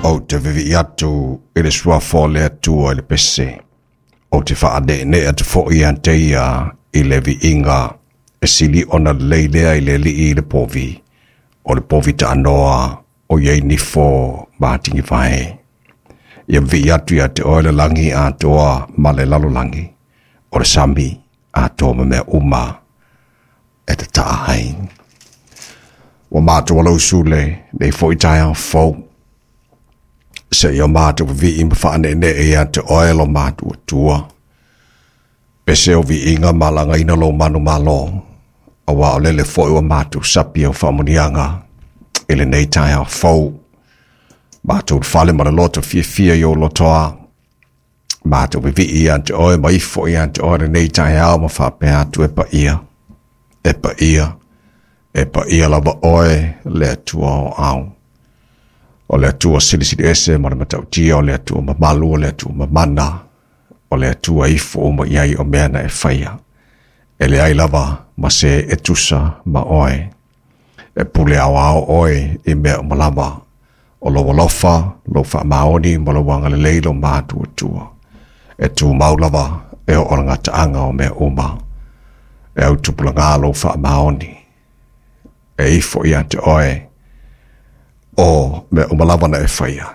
Ou te vivii atu i le suafa o le Atua i le pese. Ou te faaneenee atu foi ia te ia i le viiga e sili ona lelei lea i le alii i le povi, o le povi taanoa o i ai nifo ma atigivae. Ia vivii atu ia te oe le lagi atoa ma le lalolagi, o le sami atoa ma mea uma e tataa ai. Ua matou alausu lenei foi taeao fou. Seia matou vivii ma faaneenee ia te oe lo matou Atua. Pese o viiga ma lagaina lou manumalo, aua o lele foi ua matou sapi au faamanuiaga i lenei taeao fou. Matou fale ma le loto fiafia i ou lotoa. Matou vivii ia te oe ma ifo ia te oe lenei taeao ma faapea atu e paia, e paia, e paia lava oe le Atua o au. O le Atua silisili ese ma le matautia, o le Atua mamalu, o le Atua mamana, o le Atua ifo uma i ai o mea na e faia. E leai lava ma se e tusa ma oe. E pule aoao oe i mea uma lava. O lou alofa, lou faamaoni ma lou agalelei lo matou Atua. E tumau lava e oo le gataaga o mea uma. E autupulaga lou faamaoni. E ifo ia te oe o mea uma lava na e faia.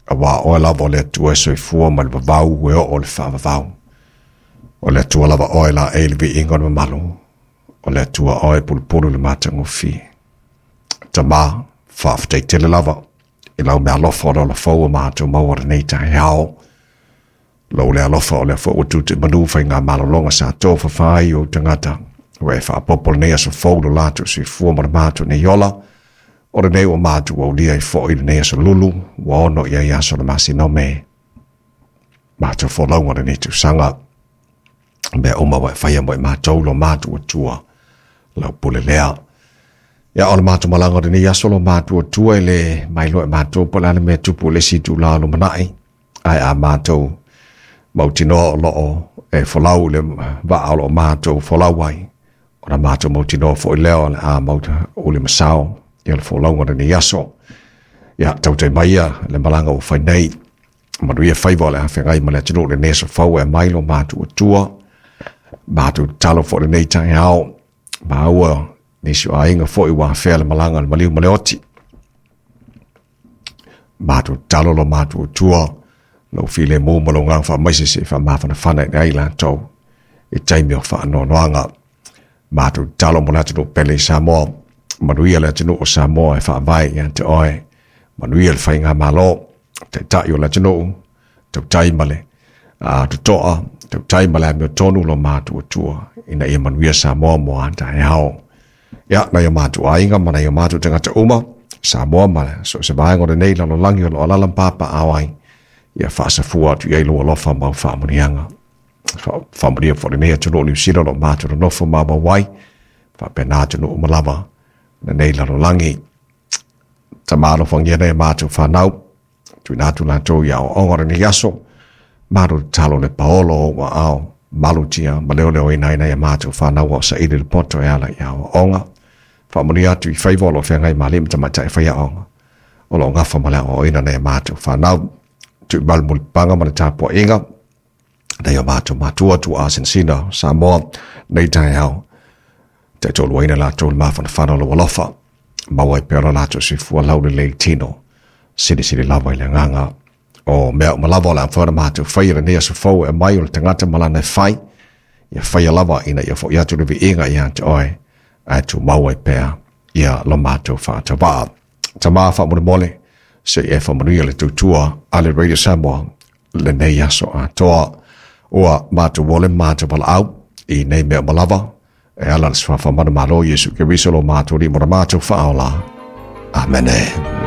Aua oe lava o le Atua e soifua mai le vavau e oo le faavavau. O le Atua lava oe la e le viiga o le mamalu. O le Atua oe pulupulu le matagofie. Tama, faafetai tele lava i lau meaalofa o le ola fou ua matou maua lenei taeao. Lou le alofa o lea foi ua tute manu faiga malologa sa tofafa ai ou tagata. Ua e faaopoopo lenei aso fou lo latou soifua ma le matou nei ola. O lenei ua matou aulia ai foi lenei aso lulu, ua 6 i ai aso o le masina o Me. Matou folauga lenei tausaga. Mea uma ua e faia mo i matou lo matou Atua. Lau pule lea. Ia o le matou malaga o lenei aso lo matou Atua e le mailoa e matou po o le a le mea tupu i le isi itula o lumanai. Ae a matou mautinoa o loo e folau le vaa o loo matou folau ai. Ona matou mautinoa foi lea o le a uli masao ia le folauga o lenei aso. Ia tautai mai ia le malaga ua fai nei. Manuia faiva o le afeagai ma le atunuu lenei aso fou e mai lo matou Atua. Matou tatalo foi lenei taeao. Maua nisi o aiga foi ua afea le malaga le maliu ma le oti. Matou tatalo lo matou Atua, lou filemu ma lou agaga faamaise se i faamafanafana i ai latou i taimi o faanoanoaga. Matou tatalo mo le atunuu pele i Samoa, manuia le atunuu o Samoa e faavae ia te oe, manuia le faigamalo, taitai o le atunuu, tautai ma le totoa, tautai ma le amiotonu lo matou Atua, ina ia manuia Samoa mo a taeao. Ia, nai o matou aiga ma nai o matou tagata uma, Samoa ma so o se vaega o lenei lalolagi o lo o alaala ma papaaao ai, ia faasafua atu i ai lou alofa ma au faamanuiaga. Faamanuia foi lenei atunuu o Niu Sila o lo o matou nonofo maumau ai, faapena atunuu uma lava lenei lalolagi. Tama alofagia nei matou fanau, tuuina atu latou i aoaoga o lenei aso, matou tatalo le paolo o ou aao, malutia ma leoleoina ai nai a matou fanau o saili le poto e ala i aoaoga. Faamanuia atu i faiva o lo o feagai ma alii ma tamaitai faiaoga o lo o gafa ma le aoaoina nai a matou fanau. Tuumalu mulipapaga ma le tapuaiga nai o matou matua tuaa sinasina Samoa nei taeao. Taitoluaina latou le mafanafana o lou alofa. Maua ai pea lo latou soifua laulelei le tino. Silisili lava i le agaga. O mea uma lava o le a mafai ona matou faia lenei aso fou e aumai o le tagata ma lana e fai. Ia faia lava ina ia foi atu le viiga ia te oe, ae tumau ai pea ia lo matou faatavaa. Tama faamolemole, se i e faamanuia le tautua a le Radio Samoa lenei aso atoa. Ua matou ole ma matou valaau i nei mea uma lava, e ala le suafa manumalo Iesu Keriso lo matou Alii ma lo matou Faaola. Amene.